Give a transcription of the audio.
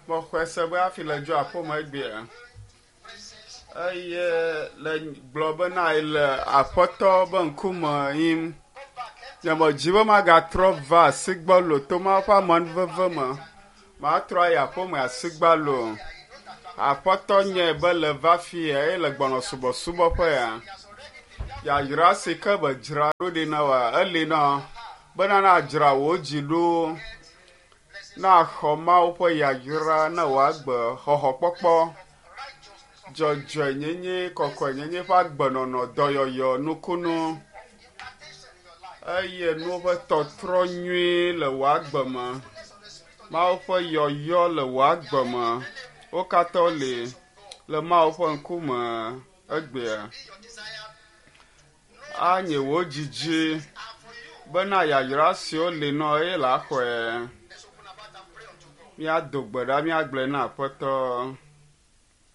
Mexɔe se be hafi le dzo aƒeme egbea eye le gblɔ bena ele aƒetɔ be ŋkume yim. Nye medzi be magatrɔ va asigbɔlo to Mawu ƒe amenuveve me. Matrɔ ayi aƒeme asigbalo. Aƒetɔ nyae be le va fi ya eye le gbɔnɔ subɔsubɔƒe ya. Yayra si ke be dzra ɖo ɖi na woa, eli na bena nadzra wò dzi ɖo na xɔ Mawu ƒe yayra ne wòagbe xɔxɔkpɔkpɔ, dzɔdzɔenyenye, kɔkɔenyenye ƒe agbenɔnɔ, dɔyɔyɔ, nukunu eye nuwo ƒe tɔtrɔ nyui le wò agbe me. Mawu ƒe yɔyɔ le wò agbe me. Wo katã wole le Mawu ƒe ŋkume egbea. Anye wò dzidzi bena yayra siwo li nɔ eye le axɔe. Let's open our mouth and pray unto God. Míado gbe ɖa míagblɔe na Aƒetɔ.